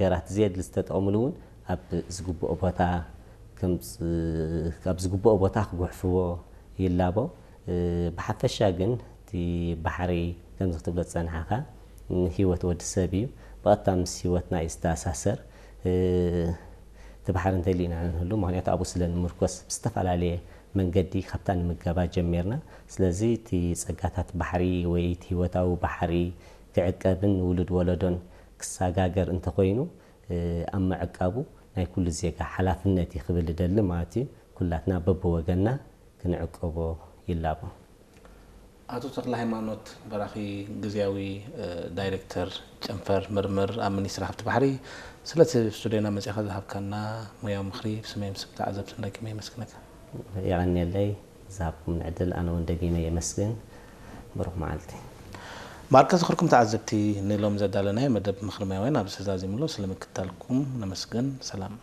ነገራት ዘየድሊ ዝተጠቐምሉ እውን ኣብ ዝግብኦ ቦታ ከም ዝ-፣ ኣብ ዝግብኦ ቦታ ክጉሕፍዎ ይላቦ። እ፣ ብሓፈሻ ግን እቲ ባሕሪ ከምዚ ክትብሎ ዝጸናሕካ ንህይወት ወዲ ሰብ እዩ። ብቐጥታ ምስ ህይወትና እዩ ዝተኣሳሰር። እ፣ እቲ ባሕሪ እንተሊእና ንህሉ፣ ምኽንያቱ ኣብኡ ስለ ንምርኮስ ብዝተፈላለየ መንገዲ ካብታ ንምገባ ጀሚርና። ስለዚ እቲ ጸጋታት ባሕሪ ወይ እቲ ህይወታዊ ባሕሪ ክዕቀብን ንውሉድ ወለዶን ክሰጋገር እንተኾይኑ፣ እ፣ ኣብ ምዕቃቡ ናይ ኩሉ ዜጋ ሓላፍነት እዩ ክብል እደሊ ማለት እዩ። ኩላትና በብወገንና ክንዕቀቦ ይላቦ። ኣቶ ተኽለ ሃይማኖት በራኺ፣ ግዝያዊ፣ እ፣ ዳይሬክተር ጨንፈር ምርምር ኣብ ሚኒስትሪ ሃብቲ ባሕሪ፣ ስለቲ ስቱድዮና መጺኻ ዝሃብካና ሙያዊ ምኽሪ ብስመይ ምስ ተዓዘብትን ደጊመ የመስግነካ። የቐንየለይ ዝሃብኩም ዕድል ኣነ እውን ደጊመ የመስግን። ብሩኽ መዓልቲ። ማርካ ዝኽርኩም ተዓዘብቲ፣ ንሎም ዘዳለናዮ መደብ ምኽሪ ሙያውያን ኣብዚ ተዛዚሙ ኣሎ። ስለምክታልኩም ነመስግን። ሰላም።